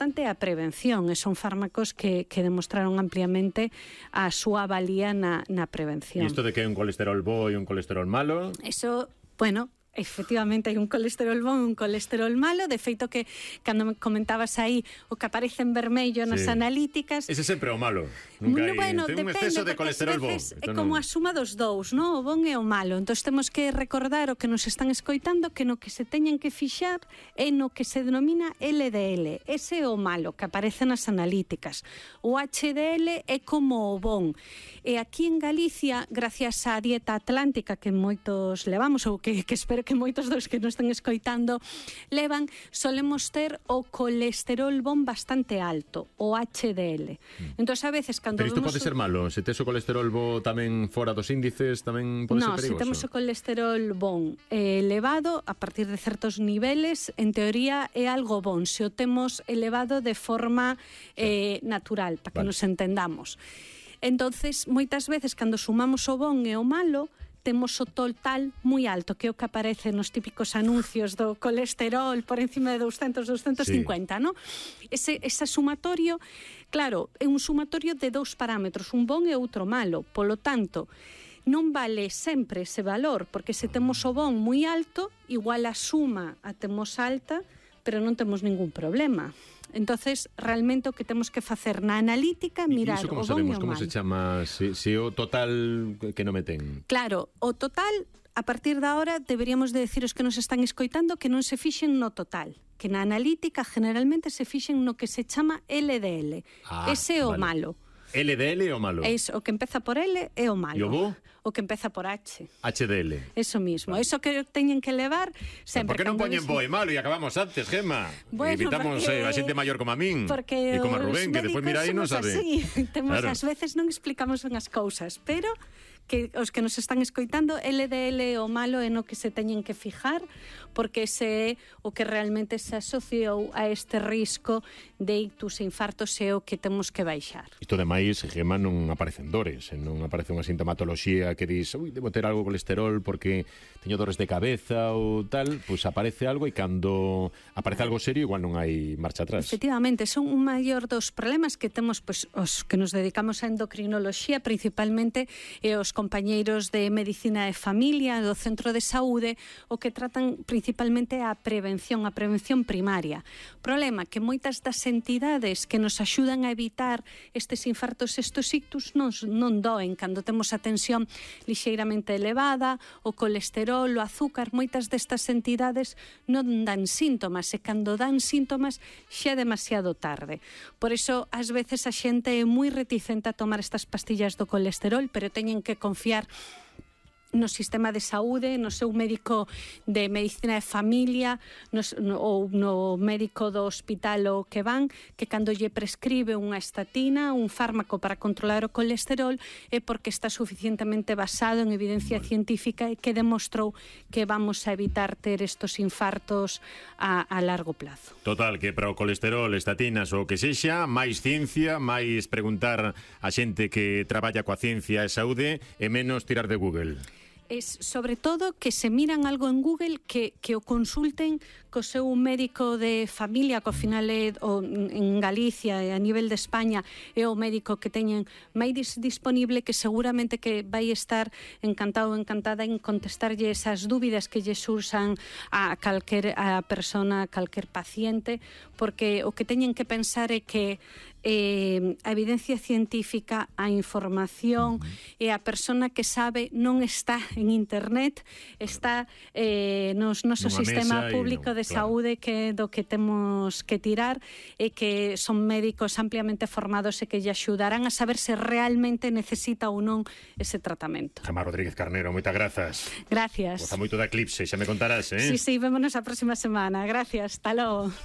importante é a prevención, e son fármacos que demostraron ampliamente a súa valía na prevención. E isto de que hai un colesterol bo e un colesterol malo? Eso, bueno, efectivamente hai un colesterol bon e un colesterol malo. De feito que, cando me comentabas aí o que aparece en vermello nas analíticas, ese sempre é o malo. Nunca hai bueno, un exceso de colesterol bon. É como a suma dos dous, non? O bon e o malo. Entón temos que recordar o que nos están escoitando, que no que se teñen que fixar é no que se denomina LDL. Ese é o malo que aparece nas analíticas. O HDL é como o bon. E aquí en Galicia, gracias á dieta atlántica que moitos levamos, ou que espero que moitos dos que nos están escoitando levan, solemos ter o colesterol bon bastante alto, o HDL. Entón, a veces, cando pero isto pode ser malo? Se tes o colesterol bo tamén fora dos índices, tamén pode ser perigoso? No, se temos o colesterol bon elevado, a partir de certos niveles, en teoría é algo bon. Se o temos elevado de forma natural, para que nos entendamos. Entonces, moitas veces, cando sumamos o bon e o malo, temos o total moi alto, que é o que aparece nos típicos anuncios do colesterol por encima de 200, 250, non? Ese sumatorio, claro, é un sumatorio de dous parámetros, un bon e outro malo. Polo tanto, non vale sempre ese valor, porque se temos o bon moi alto, igual a suma a temos alta, pero non temos ningún problema. Entonces, realmente o que temos que facer na analítica, mirar o bon e o mal. Como se chama? Se o total que non me ten? Claro, o total, a partir da hora, deberíamos de decir os que nos están escoitando que non se fixen no total, que na analítica generalmente se fixen no que se chama LDL. Ese é o malo. LDL é o malo? É o que empeza por L é o malo. E o bo? O que empeza por H. HDL. Eso mismo. Eso que teñen que levar sempre. Por que non poñen bo e malo e acabamos antes, Gemma? Bueno, evitamos a xente maior como a min e como a Rubén, que despois mira aí non sabe. Temos, claro. Ás veces non explicamos ben as cousas, pero que os que nos están escoitando, LDL o malo é no que se teñen que fijar, porque ese é o que realmente se asociou a este risco de ictus e infartos, é o que temos que baixar. Isto demais, Gemma, non aparecen dores, non aparece unha sintomatoloxía que dis, debo ter algo de colesterol porque teño dores de cabeza ou tal, pois aparece algo e cando aparece algo serio igual non hai marcha atrás. Efectivamente, son un maior dos problemas que temos, pois, os que nos dedicamos a endocrinoloxía principalmente, e os compañeiros de Medicina de Familia do Centro de Saúde, o que tratan principalmente a prevención primaria. Problema que moitas das entidades que nos axudan a evitar estes infartos, estes ictus, non doen cando temos a tensión lixeiramente elevada, o colesterol, o azúcar. Moitas destas entidades non dan síntomas, e cando dan síntomas xa é demasiado tarde. Por iso, ás veces a xente é moi reticente a tomar estas pastillas do colesterol, pero teñen que confiar no sistema de saúde, no seu médico de Medicina de Familia, ou no médico do hospital o que van, que cando lle prescribe unha estatina, un fármaco para controlar o colesterol, é porque está suficientemente basado en evidencia científica e que demostrou que vamos a evitar ter estos infartos a largo plazo. Total, que para o colesterol, estatinas ou que sexa, máis ciencia, máis preguntar a xente que traballa coa ciencia e saúde e menos tirar de Google. Es sobre todo que se miran algo en Google, que o consulten co seu médico de familia, que ao final é en Galicia e a nivel de España é o médico que teñen máis disponible, que seguramente que vai estar encantado ou encantada en contestarlle esas dúbidas que lle surxan a persona, a calquer paciente, porque o que teñen que pensar é que a evidencia científica, a información e a persona que sabe non está en internet, está no noso sistema público de saúde, que do que temos que tirar, e que son médicos ampliamente formados e que lle axudarán a saber se realmente necesita ou non ese tratamento. Gemma Rodríguez Carnero, moitas grazas. Gracias. Goza moito da Eclipse, xa me contarás, Sí, vémonos a próxima semana. Gracias, hasta logo.